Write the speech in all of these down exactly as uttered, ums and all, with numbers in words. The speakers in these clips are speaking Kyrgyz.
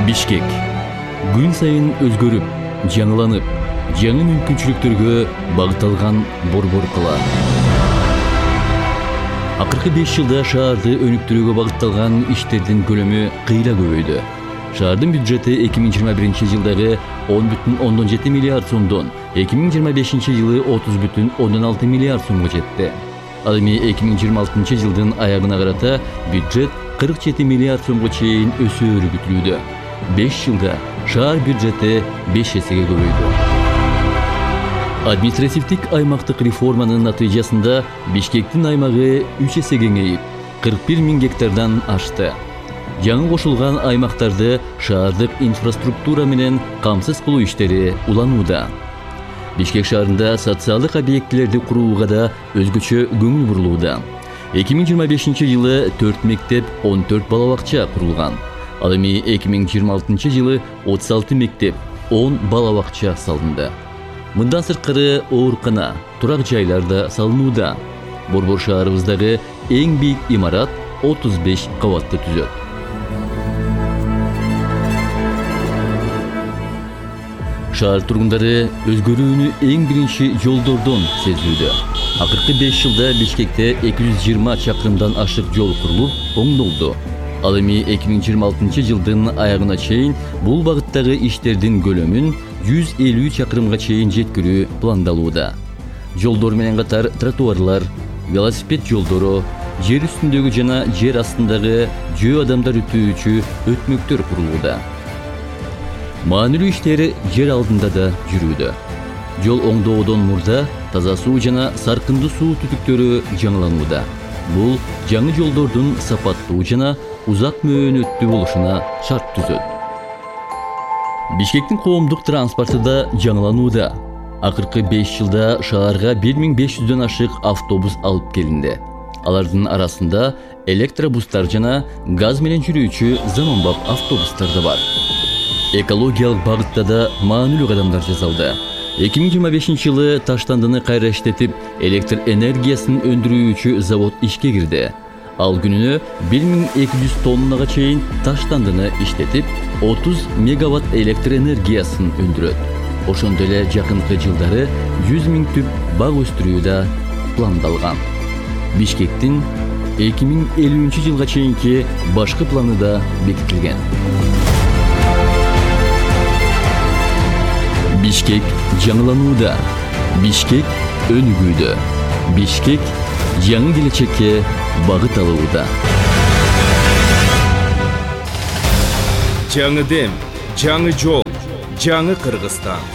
Бишкек күн сайын өзгөрүп, жаңыланып, жаңы мүмкүнчүлүктөргө багытталган борбор кала. Акыркы беш жылда шаарды өнүктүрүүгө багытталган иштердин көлөмү кыйла көбөйдү. Шаардын бюджети эки миң жыйырма биринчи жылдагы он бүтүн ондон жети миллиард сомдон эки миң жыйырма бешинчи жылы отуз бүтүн ондон алты миллиард сомго жетти. Ал эми эки миң жыйырма алтынчы жылдын аягына карата бюджет кырк жети миллиард сомго чейин өсөөрү күтүлүүдө. беш жылда шаар бюджети беш эсеге көбөйдү. Административдик аймактык реформанын натыйжасында Бишкектин аймагы үч эсе кеңейип, кырк бир миң гектардан ашты. Жаңы кошулган аймактарды шаардык инфраструктура менен камсыз кылуу иштери уланууда. Бишкек шаарында социалдык объектилерди курууга да өзгөчө көңүл бурулууда. эки миң жыйырма бешинчи жылы төрт мектеп, он төрт бала бакча курулган. Ал эми эки миң жыйырма алтынчы жылы отуз алты мектеп, он бала бакча салынды. Мындан сырткары оорукана, турак жайлар да салынууда. Борбор шаарыбыздагы эң бийик имарат отуз беш кабатты түзөт. Шаар тургундары өзгөрүүнү эң биринчи жолдордон сезүүдө. Акыркы беш жылда Бишкекте эки жүз жыйырма чакырымдан ашык жол курулуп, оңдолду. Ал эми эки миң жыйырма алтынчы жылдын аягына чейин бул багыттагы иштердин көлөмүн жүз элүү чакырымга чейин жеткирүү пландалууда. Жолдор менен катар тротуарлар, велосипед жолдору, жер үстүндөгү жана жер астындагы жөө адамдар өтүүчү өтмөктөр курулууда. Маанилүү иштер жер алдында да жүрүүдө. Жол оңдоодон мурда таза суу жана саркындуу суу түтүктөрү жаңыланууда. Бул жаңы жолдордун сапаттуу жана узак мөөнөттүү болушуна шарт түзөт. Бишкектин коомдук транспорту да жаңыланууда. Акыркы беш жылда шаарга бир миң беш жүздөн ашык автобус алып келинди. Алардын арасында электробустар жана газ менен жүрүүчү заманбап автобустар да бар. Экологиялык багытта да маанилүү кадамдар жасалды. эки миң жыйырма бешинчи жылы Таштандыны кайра иштетип, электр энергиясын өндүрүүчү завод ишке кирди. Ал күнүнө бир миң эки жүз тоннага чейин Таштандыны иштетип, отуз мегаватт электр энергиясын өндүрөт. Ошондой эле жакынкы жылдары жүз миң түп бак өстүрүү да пландалган. Бишкектин эки миң элүүнчү жылга чейинки башкы планы да бекитилген. Бишкек жаңыланууда. Бишкек өнүгүүдө. Бишкек жаңы келечекке багыт алууда. Жаңы дем, жаңы жол, жаңы Кыргызстан.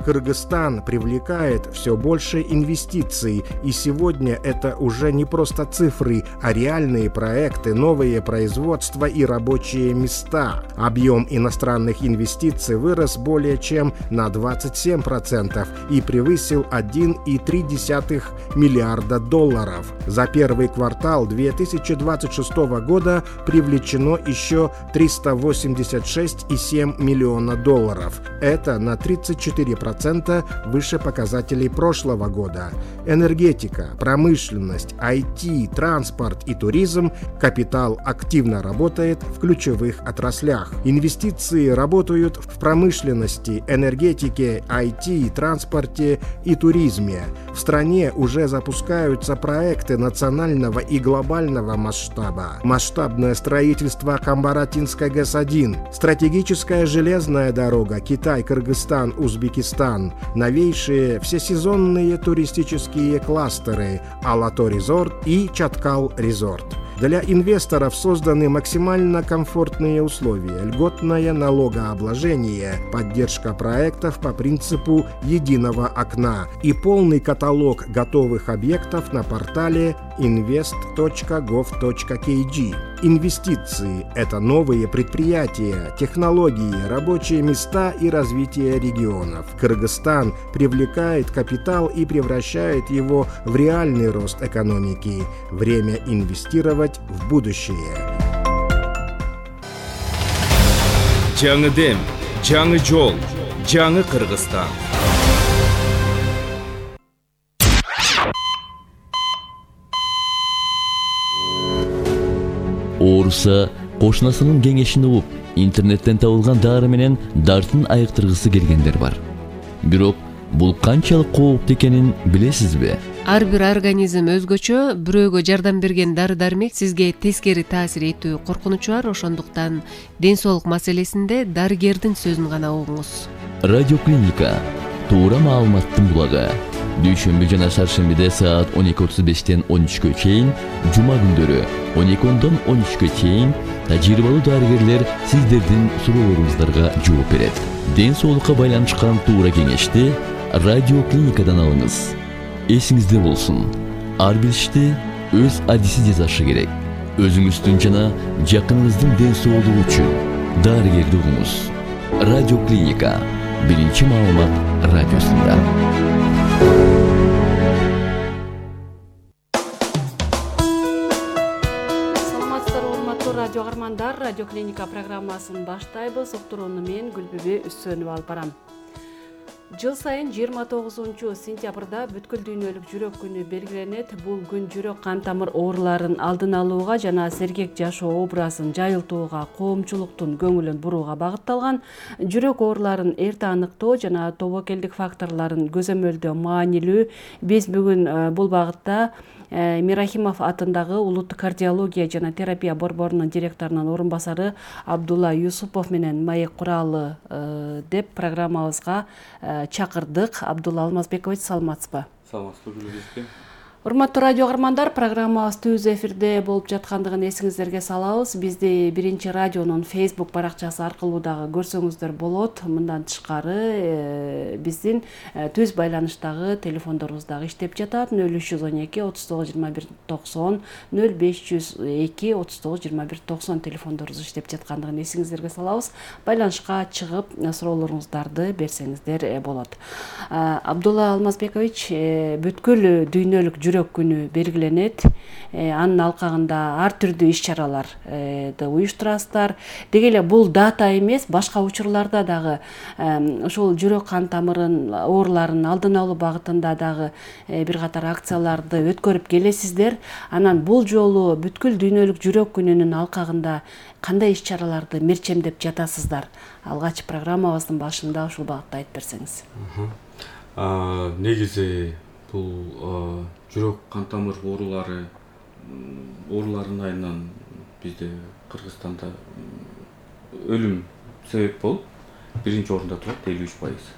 Кыргызстан привлекает все больше инвестиций, и сегодня это уже не просто цифры, а реальные проекты, новые производства и рабочие места. Объем иностранных инвестиций вырос более чем на двадцать семь процентов и превысил один и три десятых миллиарда долларов. За первый квартал две тысячи двадцать шестого года привлечено еще триста восемьдесят шесть и семь миллиона долларов. Это на тридцать четыре процента выше показателей прошлого года. Энергетика, промышленность, ай ти, транспорт и туризм, капитал активно работает в ключевых отраслях. Инвестиции работают в промышленности, энергетике, ай ти, транспорте и туризме. В стране уже запускаются проекты национального и глобального масштаба. Масштабное строительство Камбаратинской ГЭС один, стратегическая железная дорога Китай-Кыргызстан, Узбекистан, новейшие всесезонные туристические кластеры Алато-резорт и Чаткал-резорт. Для инвесторов созданы максимально комфортные условия, льготное налогообложение, поддержка проектов по принципу единого окна и полный каталог готовых объектов на портале инвест точка гов точка кей джи. Инвестиции – это новые предприятия, технологии, рабочие места и развитие регионов. Кыргызстан привлекает капитал и превращает его в реальный рост экономики. Время инвестировать в будущее. Жаңы дем, жаңы жол, жаңы Кыргызстан. ооруса кошунасынын кеңешин угуп, интернеттен табылган дары менен дартын айыктыргысы келгендер бар. Бирок бул канчалык кооптуу экенин билесизби? Ар бир организм өзгөчө, бирөөгө жардам берген дары-дармек сизге тескери таасир этүү коркунучу бар, ошондуктан ден соолук маселесинде дарыгердин сөзүн гана угуңуз. Радиоклиника туура маалыматтын булагы. Дүйшөмбү жана шаршембиде саат он эки отуз бештен он үчкө чейин, жума күндөрү он эки ондон он үчкө чейин тажрыйбалуу дарыгерлер сиздердин суроолоруңуздарга жооп берет. Ден соолукка байланышкан туура кеңешти радиоклиникадан алыңыз. Эсиңизде болсун, ар бир ишти өз адиси жасашы керек. Өзүңүздүн жана жакыныңыздын ден соолугу үчүн дарыгерди угуңуз. Радиоклиника биринчи маалымат радиосунда. Саламатсыздарбы, урматтуу радио каармандар, Радиоклиника программасын баштайбыз. Уктурууну мен Гүлбүбү Үсөнүп алып барам. Жыл сайын жыйырма тогузунчу сентябрда бүткүл дүйнөлүк жүрөк күнү белгиленет. Бул күн жүрөк кан тамыр ооруларын алдын алууга жана сергек жашоо образын жайылтууга, коомчулуктун көңүлүн бурууга багытталган. Жүрөк ооруларын эрте аныктоо жана тобокелдик факторлорун көзөмөлдөө маанилүү. Биз бүгүн бул багытта Мирахимов атындагы улуттук кардиология жана терапия борборунун директорунун орун басары Абдулла Юсупов менен маек куралы деп программабызга чакырдык. Абдулла Алмазбекович, саламатсызбы? Саламатсызбы. Урматтуу радио каармандар, программабыз түз эфирде болуп жаткандыгын эсиңиздерге салабыз. Бизди Биринчи радионун Facebook баракчасы аркылуу дагы көрсөңүздөр болот. Мындан тышкары биздин түз байланыштагы телефондорубуз дагы иштеп жатат. нөл үч жүз он эки отуз тогуз жыйырма бир токсон, нөл беш жүз эки отуз тогуз жыйырма бир токсон телефондорубуз иштеп жаткандыгын эсиңиздерге салабыз. Байланышка чыгып суроолоруңуздарды берсеңиздер болот. Абдулла Алмазбекович, бүткүл дүйнөлүк жүрөк күнү белгиленет. Анын алкагында ар түрдүү иш-чараларды уюштурасыздар. Деги эле бул дата эмес, башка учурларда дагы ушул жүрөк кан тамырын ооруларын алдын алуу багытында дагы бир катар акцияларды өткөрүп келесиздер. Анан бул жолу бүткүл дүйнөлүк жүрөк күнүнүн алкагында кандай иш-чараларды мерчемдеп жатасыздар? Алгач программабыздын башында ушул багытта айтып берсеңиз. Негизи бул жүрөк кан тамыр оорулары ооруларынын айынан бизде Кыргызстанда өлүм себеп болуп биринчи орунда турат, элүү үч пайыз.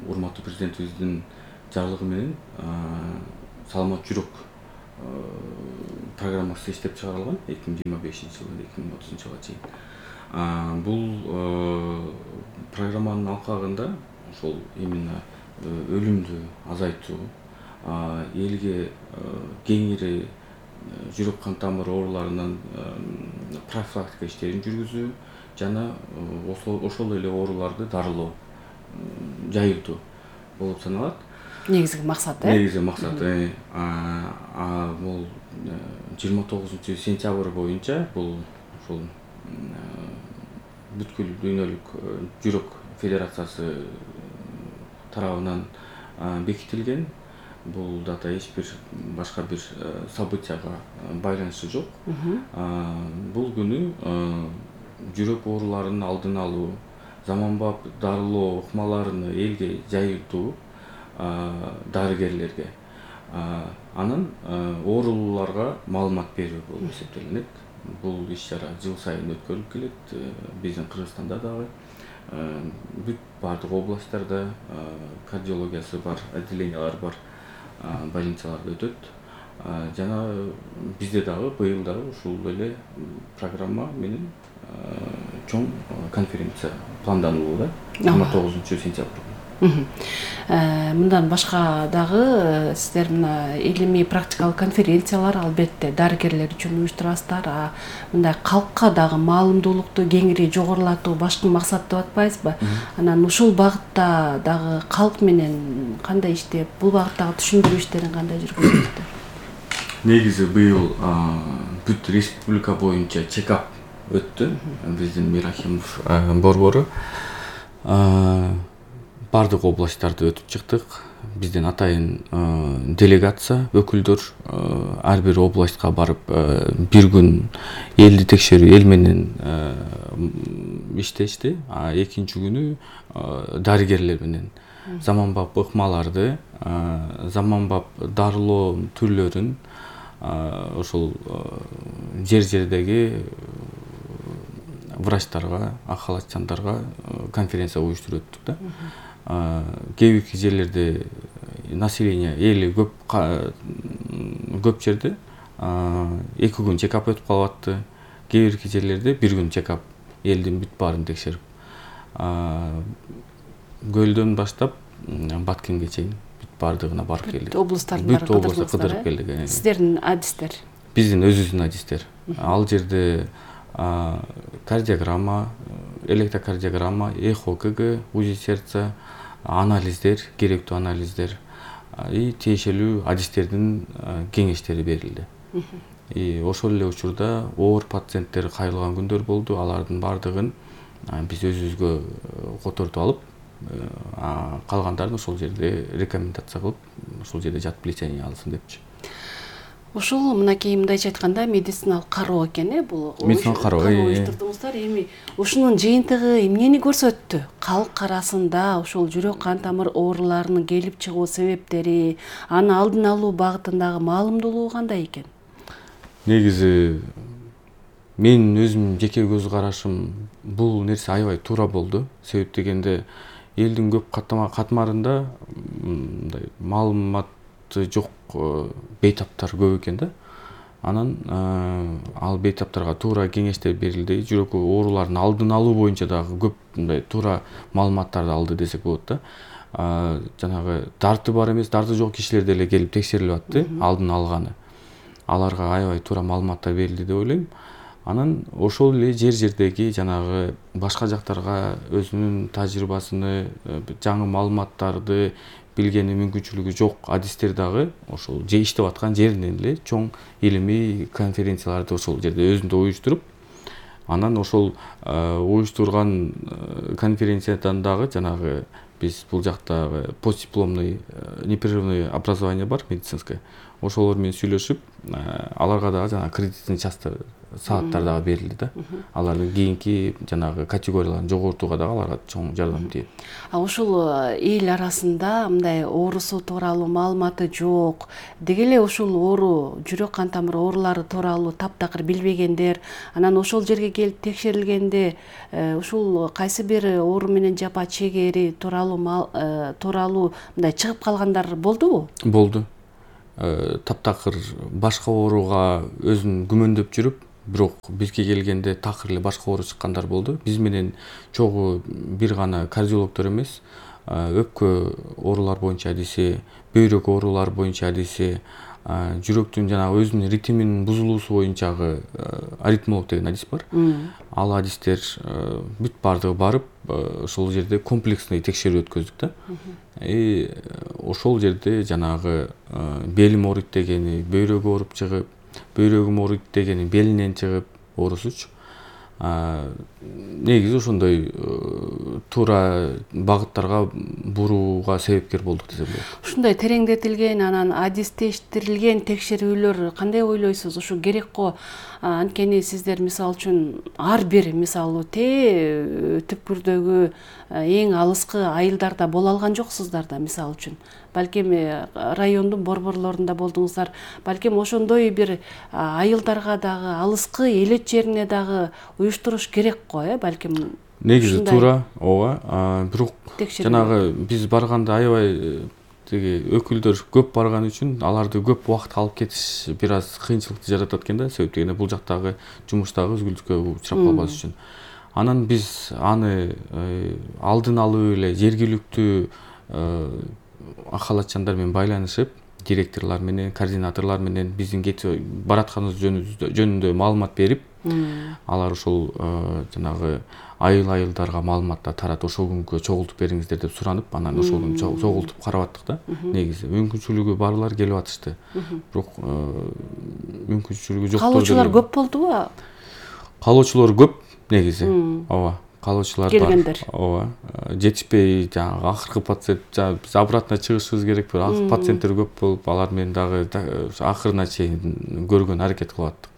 Урматтуу президентибиздин жарлыгы менен саламат жүрөк программасы иштеп чыгарылган эки миң жыйырма бешинчи жылдан эки миң отузунчу жылга чейин. Бул программанын алкагында ошол именно өлүмдү азайтуу, элге кеңири жүрөк кан тамыр ооруларынан профилактика иштерин жүргүзүү жана ошол эле ооруларды дарылоо, жайылтуу болуп саналат. Негизги максат, э? Негизги максат. Бул жыйырма тогузунчу сентябрь боюнча бул ошол бүткүл дүйнөлүк жүрөк федерациясы тарабынан бекитилген. Бул дата эч бир башка бир событияга байланышы жок. Бул күнү жүрөк ооруларынын алдын алуу, заманбап дарылоо ыкмаларын элге жайылтуу дарыгерлерге, анан ооруларга маалымат берүү болуп эсептелинет. Бул иш-чара жыл сайын өткөрүлүп келет. Биздин Кыргызстанда дагы бүт бардык областтарда кардиологиясы бар, отделениялар бар больницаларда өтөт. Жана бизде дагы быйыл дагы ушул эле программа менен чоң конференция планданууда жыйырма тогузунчу сентябрь. Мындан башка дагы сиздер мына илимий практикалык конференциялар албетте дарыгерлер үчүн уюштурасыздар. Мындай калкка дагы маалымдуулукту кеңири жогорулатуу башкы максат деп атпайсызбы? Анан ушул багытта дагы калк менен кандай иштеп, бул багыттагы түшүндүрүү иштерин кандай жүргүзөсүздөр? Негизи быйыл бүт республика боюнча чекап өттү. Биздин Мирахимов борбору бардык областтарды өтүп чыктык. бизден атайын делегация өкүлдөр ар бир областка барып бир күн элди текшерүү эл менен иштешти. А экинчи күнү дарыгерлер менен заманбап ыкмаларды, заманбап дарылоо түрлөрүн ошол жер жердеги врачтарга, ак халатчандарга конференция уюштуруп өттүк да. Кээ бир жерлерде население эли көп көп жерде эки күн чекап өтүп калып атты. Кээ бир жерлерде бир күн чекап элдин бүт баарын текшерип. Көлдөн баштап Баткенге чейин бүт баардыгына барып келдик. Облустардын бүт облусту кыдырып келдик. Сиздердин адистер? Биздин өзүбүздүн адистер. Ал жерде кардиограмма, электрокардиограмма, эхо КГ, УЗИ сердца, анализдер, керектүү анализдер и тиешелүү адистердин кеңештери берилди. И ошол эле учурда оор пациенттер кайрылган күндөр болду. Алардын баардыгын биз өзүбүзгө котортуп алып, калгандарын ошол жерде рекомендация кылып, ошол жерде жатып лечение алсын депчи. Ушул мынакей мындайча айтканда медициналык кароо экен э бул. Медициналык кароо уюштурдуңуздар. Эми ушунун жыйынтыгы эмнени көрсөттү? Калк арасында ошол жүрөк кан тамыр ооруларынын келип чыгуу себептери, аны алдын алуу багытындагы маалымдуулугу кандай экен? Негизи менин өзүм жеке көз карашым бул нерсе аябай туура болду. Себеп дегенде элдин көп катмарында мындай маалыматы жок бейтаптар көп экен да. Анан ал бейтаптарга туура кеңештер берилди. Жүрөк ооруларынын алдын алуу боюнча дагы көп мындай туура маалыматтарды алды десек болот да. Жанагы дарты бар эмес, дарты жок кишилер деле келип текшерилип атты, алдын алганы. Аларга аябай туура маалыматтар берилди деп ойлойм. Анан ошол эле жер жердеги жанагы башка жактарга өзүнүн тажрыйбасыны, жаңы маалыматтарды билгени мүмкүнчүлүгү жок адистер дагы ошол же иштеп аткан жеринен эле чоң илимий конференцияларды ошол жерде өзүндө уюштуруп, анан ошол уюштурган конференциядан дагы жанагы биз бул жактагы постдипломный непрерывный образование бар медицинское. Ошолор менен сүйлөшүп, аларга дагы жана кредитный часть сааттар дагы берилди да. Алардын кийинки жанагы категорияларын жогортууга дагы аларга чоң жардам тийет. А ушул эл арасында мындай оорусу тууралуу маалыматы жок, деги эле ушул оору, жүрөк кан тамыр оорулары тууралуу таптакыр билбегендер, анан ошол жерге келип текшерилгенде ушул кайсы бир оору менен жапа чегери тууралуу тууралуу мындай чыгып калгандар болдубу? Болду. Таптакыр башка ооруга өзүн күмөндөп жүрүп, бирок бизге келгенде такыр эле башка оору чыккандар болду. Биз менен чогуу бир гана кардиологдор эмес, өпкө оорулар боюнча адиси, бөйрөк оорулар боюнча адиси, жүрөктүн жанагы өзүнүн ритминин бузулуусу боюнчагы аритмолог деген адис бар. Ал адистер бүт баардыгы барып, ошол жерде комплексный текшерүү өткөздүк да. И ошол жерде жанагы белим ооруйт дегени бөйрөгү ооруп чыгып, бөйрөгүм ооруйт дегени белинен чыгып оорусучу. Негизи ошондой туура багыттарга бурууга себепкер болдук десем болот. Ушундай тереңдетилген, анан адистештирилген текшерүүлөр кандай ойлойсуз? Ушу керек го? Анткени сиздер мисалы үчүн ар бир мисалы те түпкүрдөгү эң алыскы айылдарда боло алган жоксуздар да, мисалы үчүн. Балким райондун борборлорунда болдуңуздар. Балким ошондой бир айылдарга дагы, алыскы элет жерине дагы уюштуруш керек го, э, балким. Негизи туура, ооба. Бирок жанагы биз барганда аябай теги өкүлдөр көп барган үчүн аларды көп убакыт алып кетиш бир аз кыйынчылыкты жаратат экен да. Себеп дегенде бул жактагы жумуштагы үзгүлтүккө учурап калбаш үчүн. Анан биз аны алдын алуу эле жергиликтүү ак халатчандар менен байланышып, директорлор менен, координаторлор менен биздин кетип баратканыбыз жөнүндө маалымат берип, алар ошол жанагы айыл-айылдарга маалыматты таратып, ошол күнгө чогултуп бериңиздер деп суранып, анан ошол күнү чогултуп карап аттык да. Негизи мүмкүнчүлүгү барлар келип атышты. Бирок мүмкүнчүлүгү жоктор. Калуучулар көп болдубу? Калуучулар көп негизи. Ооба. калуучулар келгендер. бар. Ооба. Жетишпей жанагы акыркы пациент биз обратно чыгышыбыз керек. Бирок пациенттер көп болуп, алар менен дагы акырына чейин көргөн аракет кылып аттык.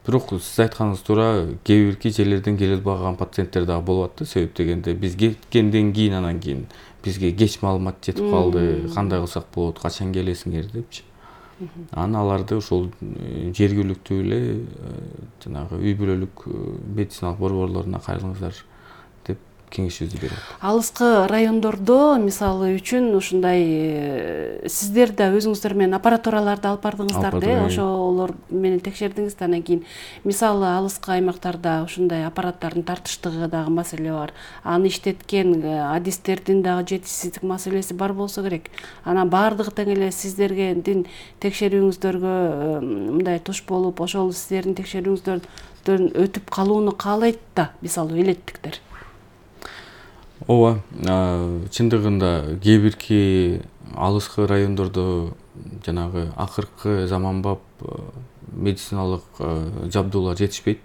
Бирок сиз айтканыңыз туура, кээ бирки жерлерден келе албаган пациенттер дагы болуп атты. Себеп дегенде биз кеткенден кийин анан кийин бизге кеч маалымат жетип калды. Кандай кылсак болот, качан келесиңер депчи. Анан аларды ошол жергиликтүү эле жанагы үй бүлөлүк медициналык борборлоруна кайрылыңыздар деп кеңешибизди берет. Алыскы райондордо мисалы үчүн ушундай сиздер да өзүңүздөр менен аппаратураларды алып бардыңыздар да, ошолор менен текшердиңиз. Анан кийин мисалы алыскы аймактарда ушундай аппараттардын тартыштыгы дагы маселе бар. Аны иштеткен адистердин дагы жетишсиздик маселеси бар болсо керек. Анан баардыгы тең эле сиздердин текшерүүңүздөргө мындай туш болуп, ошол сиздердин текшерүүңүздөрдөн өтүп калууну каалайт да, мисалы элеттиктер. Ооба, чындыгында кээ бирки алыскы райондордо жанагы акыркы заманбап медициналык жабдуулар жетишпейт.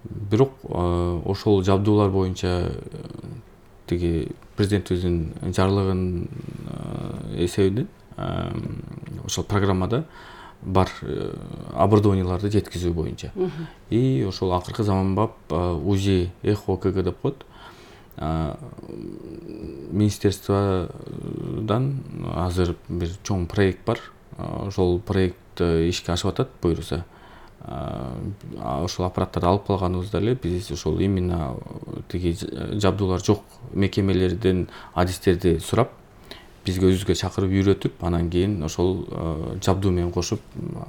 Бирок ошол жабдуулар боюнча тиги президентибиздин жарлыгынын эсебинен ошол программада бар оборудованияларды жеткизүү боюнча. И ошол акыркы заманбап УЗИ, эхо, КГ деп коет. Министерстводан азыр бир чоң проект бар. Ошол проект ишке ашып атат буюрса. Ошол аппараттарды алып калганыбызда эле биз ошол именно тиги жабдуулар жок мекемелерден адистерди сурап, бизге өзүбүзгө чакырып үйрөтүп, анан кийин ошол жабдуу менен кошуп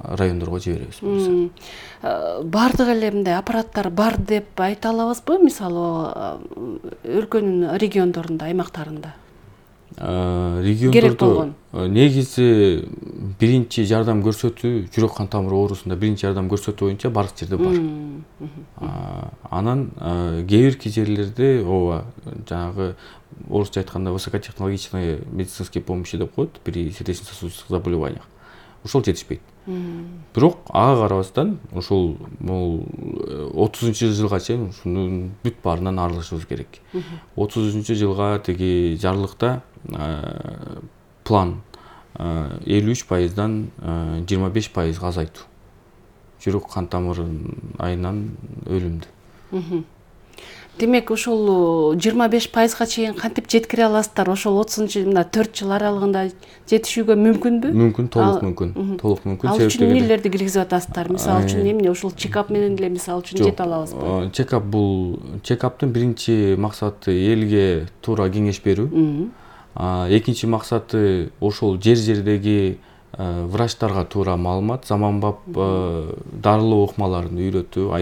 райондорго жиберебиз. Бардык эле мындай аппараттар бар деп айта алабызбы? Мисалы өлкөнүн региондорунда, аймактарында. Региондордо негизи биринчи жардам көрсөтүү, жүрөк кан тамыр оорусунда биринчи жардам көрсөтүү боюнча бардык жерде бар. Анан кээ бирки жерлерде ооба жанагы орусча айтканда высокотехнологичный медицинские помощи деп коет при сердечно-сосудистых заболеваниях. Ошол жетишпейт. Бирок ага карабастан ошол могул отузунчу жылга чейин ушунун бүт баарынан арылышыбыз керек. отузунчу жылга тиги жарлыкта план элүү үч пайыздан жыйырма беш пайызга азайтуу. Жүрөк кан тамыры айынан өлүмдү. Демек, ошол жыйырма беш пайызга чейин кантип жеткире аласыздар? Ошол отузунчу мына төрт жыл аралыгында жетишүүгө мүмкүнбү? Мүмкүн, толук мүмкүн. Толук мүмкүн. Ал үчүн эмнелерди киргизип атасыздар? Мисалы үчүн эмне ошол чекап менен эле мисалы үчүн жете алабызбы? Чекап бул чекаптын биринчи максаты элге туура кеңеш берүү. Экинчи максаты ошол жер-жердеги врачтарга туура маалымат, заманбап дарылоо ыкмаларын үйрөтүү,